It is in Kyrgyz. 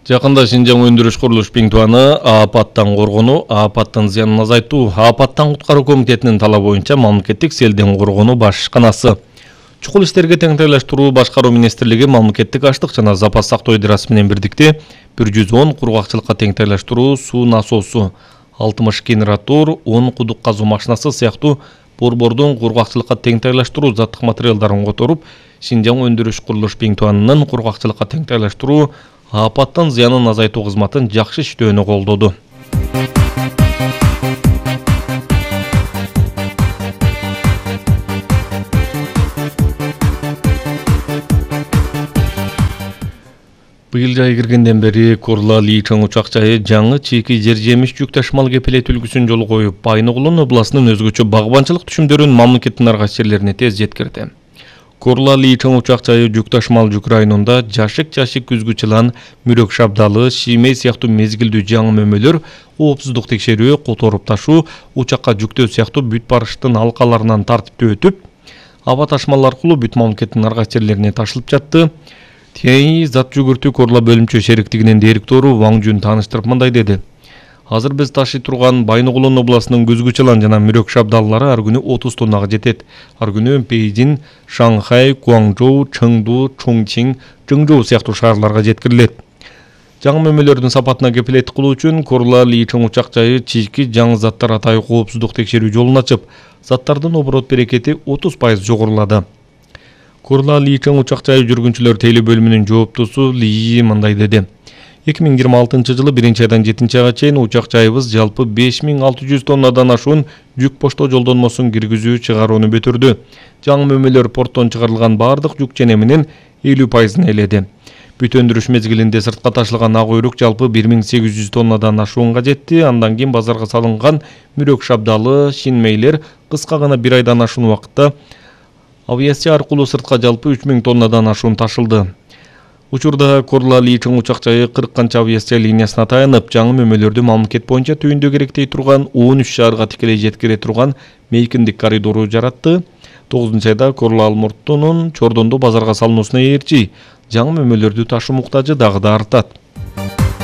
Жакында Шинжаң өндүрүш курулуш Пиңтуаны апаттан коргонуу, апаттын зыянын азайтуу, апаттан куткаруу комитетинин талабы боюнча мамлекеттик селден коргонуу башканасы, чукул иштерге теңдейлештирүү башкаруу министрлиги мамлекеттик аштык жана запас сактоо идерасы менен бирдикте 110 кургакчылыкка теңдейлештирүү суу насосу, 60 генератор, 10 кудук казуу машинасы сыяктуу борбордун кургакчылыкка теңдейлештирүү заттык материалдарын которуп, Шинжаң өндүрүш курулуш Пиңтуанынын кургакчылыкка теңдейлештирүү апаттын зыянын азайтуу кызматын жакшы иштөөнү колдоду. Быйыл жай киргенден бери Корла-Ли чоң учак жайы жаңы чийки жер жемиш жүк ташымал кепилет үлгүсүн жолго коюп, Байногулун областынын өзгөчө багбанчылык түшүмдөрүн мамлекеттин ар кайсы жерлерине тез жеткирди. Корла-Ли чоң учак жайы жүк ташымал жүк районунда жашык күзгү жылан, мүрөк шабдалы, шиймей сыяктуу мезгилдүү жаңы мөмөлөр, коопсуздук текшерүү, которуп ташуу, учакка жүктөө сыяктуу бүт барыштын алкаларынан тартиптүү өтүп, аба ташмалар аркылуу бүт мамлекеттин ар кайсы жерлерине ташылып жатты. ТИ зат жүгүртүү Корла бөлүмчө шериктигинин директору Ваң Жун тааныштырып мындай деди. Азыр биз ташый турган Байногулун областынын күзгү жылан жана мүрөк шабдаллары ар күнү 30 тоннага жетет. Ар күнү Пейжин, Шанхай, Гуаңжоу, Чыңду, Чоңчиң, Чыңжоу сыяктуу шаарларга жеткирилет. Жаңы мөмөлөрдүн сапатына кепилет кылуу үчүн Корла-Ли чоң учак жайы чийки жаңы заттар атайы коопсуздук текшерүү жолун ачып, заттардын оборот берекети 30% жогорулады. Корла-Ли чоң учак жайы жүргүнчүлөр тейлөө бөлүмүнүн жооптусу Ли мындай деди. 2026 жылы 1-айдан 7-айга чейин учак жайыбыз жалпы 5600 тоннадан ашуун жүк поштоо жолдонмосун киргизүү чыгарууну бүтүрдү. Жаңы мөмөлөр порттон чыгарылган бардык жүк ченеминин 50%-ын ээледи. Бүт өндүрүш мезгилинде сыртка ташылган ак өйрүк жалпы 1800 тоннадан ашуунга жетти. Андан кийин базарга салынган мүрөк шабдалы, шинмейлер кыска гана 1 айдан ашуун убакытта авиация аркылуу сыртка жалпы 3000 тоннадан ашуун ташылды. Учурда Корла-Ли чоң учак жайы 40 канча авиация линиясына таянып, жаңы мөмөлөрдү мамлекет боюнча түйүндө керектей турган 13 шаарга тикелей жеткире турган мейкиндик коридору жаратты. 9-айда Корла-Алмурттунун Чордондо базарга салынуусуна ээрчи жаңы мөмөлөрдү ташуу муктажы дагы да артат.